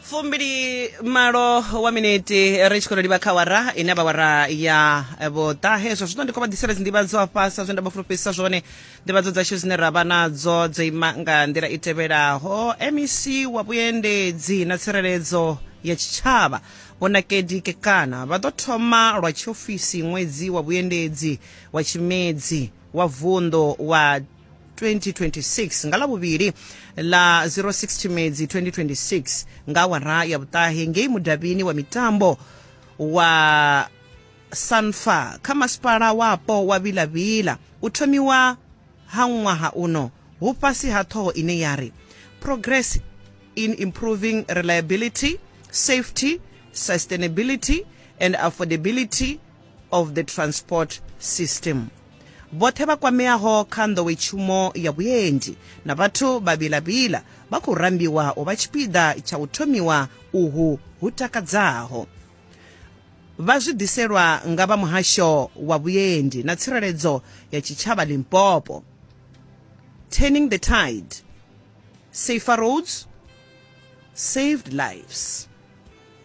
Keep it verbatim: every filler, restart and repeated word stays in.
Fumbili malo wa miniti ri tshi khou livha kha wara ine vha wara ya vhuṱahe. Zwa zwino ndi khou vha ḓisela dzinḓivhadzo afha sa zwe nda vha fulufhedzisa zwone. Nḓivhadzo dzashu dzine ra vha nadzo dzo ima nga nḓila i tevhelaho. M E C wa vhuendedzi na tsireledzo ya tshitshavha, Vho Nakedi Kekana, vha ḓo thoma lwa tshiofisi ṅwedzi wa vhuendedzi wa Tshimedzi wa vunḓu wa twenty twenty-six nga Ḽavhuvhili ḽa zero six Tshimedzi twenty twenty-six nga awara ya vhuṱahe ngei mudavhini wa mitambo wa Sanfa kha masipala wapo wa Vilavila. U thomiwa ha ṅwaha uno hu fhasi ha ṱhoho ine ya ri "Progress in Improving Reliability, Safety, Sustainability and Affordability of the Transport System". Vhoṱhe vha kwameaho kha nḓowetshumo ya vhuendi na vhathu vha Vilavila vha khou rambiwa u vha tshipiḓa tsha u thomiwa uhu hu takadzaho. Vha zwi ḓiselwa nga vha muhasho wa vhuendi na tsireledzo ya tshitshavha Limpopo. Turning the tide, safer roads, saved lives.